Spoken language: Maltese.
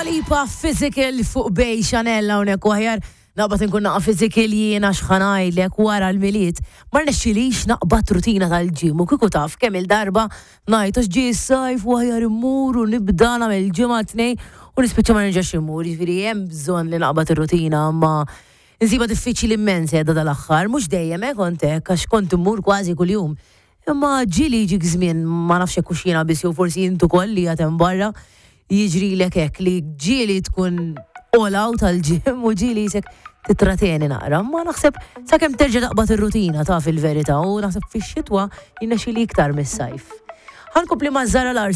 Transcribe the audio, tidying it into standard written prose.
Dua Lipa Physical fuq Bay Chanel hawnhekk u aħjar naqbad inkun naqa' physical jiena x'ħa ngħidlek wara l-Milied ma rnexxilix naqbad rutina tal-gym u kieku taf kemm il-darba ngħid għax ġie s-sajf u aħjar immur u nibda nagħmel ġimgħa tnejn u nispiċċa ma nerġax immur, jiġifieri hemm bżonn li naqbad ir-rutina imma insibha diffiċli immens qiegħda dal-aħħar, mhux dejjem eh kont hekk għax kont immur kważi kuljum. Imma ġieli jiġik żmien, ma nafx jekk hux jiena biss jew forsi int ukoll li qiegħed hemm barra, jiġrilek hekk li ġieli tkun all out għall-gym u ġieli jisek titrateni naqra. Ma naħseb sakemm terġa' taqbad ir-rutina taf il-verità u naħseb fix-xitwa jirnexxili iktar mis-sajf. Ħa nkompli ma' Zara Larsson.